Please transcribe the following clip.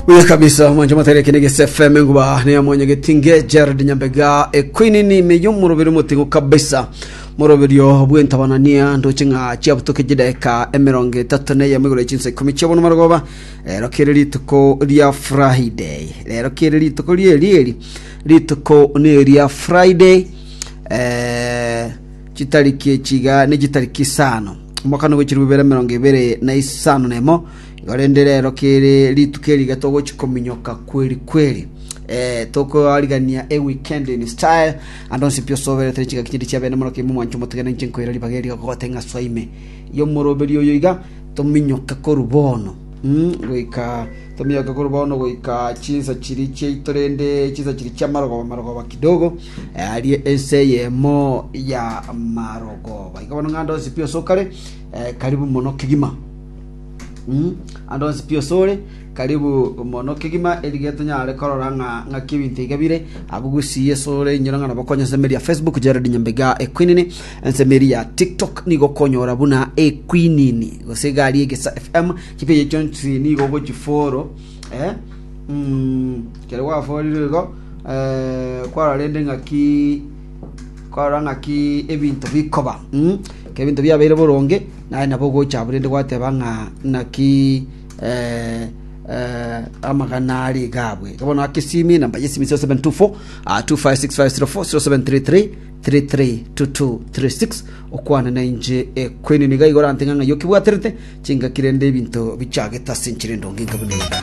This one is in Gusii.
Buya kabisa mwancho matere kene gese FM nguba ne mwanya getinge Gerald Nyambega ekwinini meyo murobero mutingo kabisa moroberio bw'entabanania ndoche ng'a chiabutoke chidaeka emerongo etato na eyemo igoro chinsa ikomi chiabono marogoba rero kere rituko ria Friday rero kere rituko rieri eri rituko ne ria Friday eh, chitariki echi iga ne chitariki isano omwaka nigo chiribu bibere emerongo ebere na isano na emo Igo rende rero kere rituko eri iga togochi kominyoka kweri kweri. Eh, tokoarigania e weekend in style ande onsi pi osoberete chingaki chinde chia bene mono kimo mwancho motigane inche nkoira ribaga eri gogote ng'a soa ime y'omoroberi oyo iga tominyoke korwa bono mm, goika tominyoke korwa bono goika chinsa chiri chiaito rende chinsa chiri chia marogoba marogoba kidogo eh, arie ense eyemo ya marogoba igo bono ng'a ande onsi pi osokare eh, karibu mono kegima Mm, ande onsi pi osore karibu mono kegima erige tonyare korora ng'a ng'aki ebinto iga bire abwo gusii esore inyora ng'a nabo konya ensemo eria ya Facebook Jared Nyambega Equinini ensemo eria ya TikTok nigo okonyora buna Equinini gose iga aria Egesa FM chipeji chionsi nigo ogochiforo eh, mm, kero gwaforire igo eh, kwarora rende ng'aki kwarora ng'aki ebinto bikoba mm, ekero ebinto biabeire boronge Naye nabo ogocha abwo rende gwateba ng'a naki eh, eh, amagana are iga abwe. Iga bono ake esimi, namba ya esimi 0724 ah, 256504 0733 332236 okwane na inche ekwenini iga igoro ante ng'a ng'ai okebwaterete chingaki rende ebinto bichagete ase enchera endonge enka buna eye.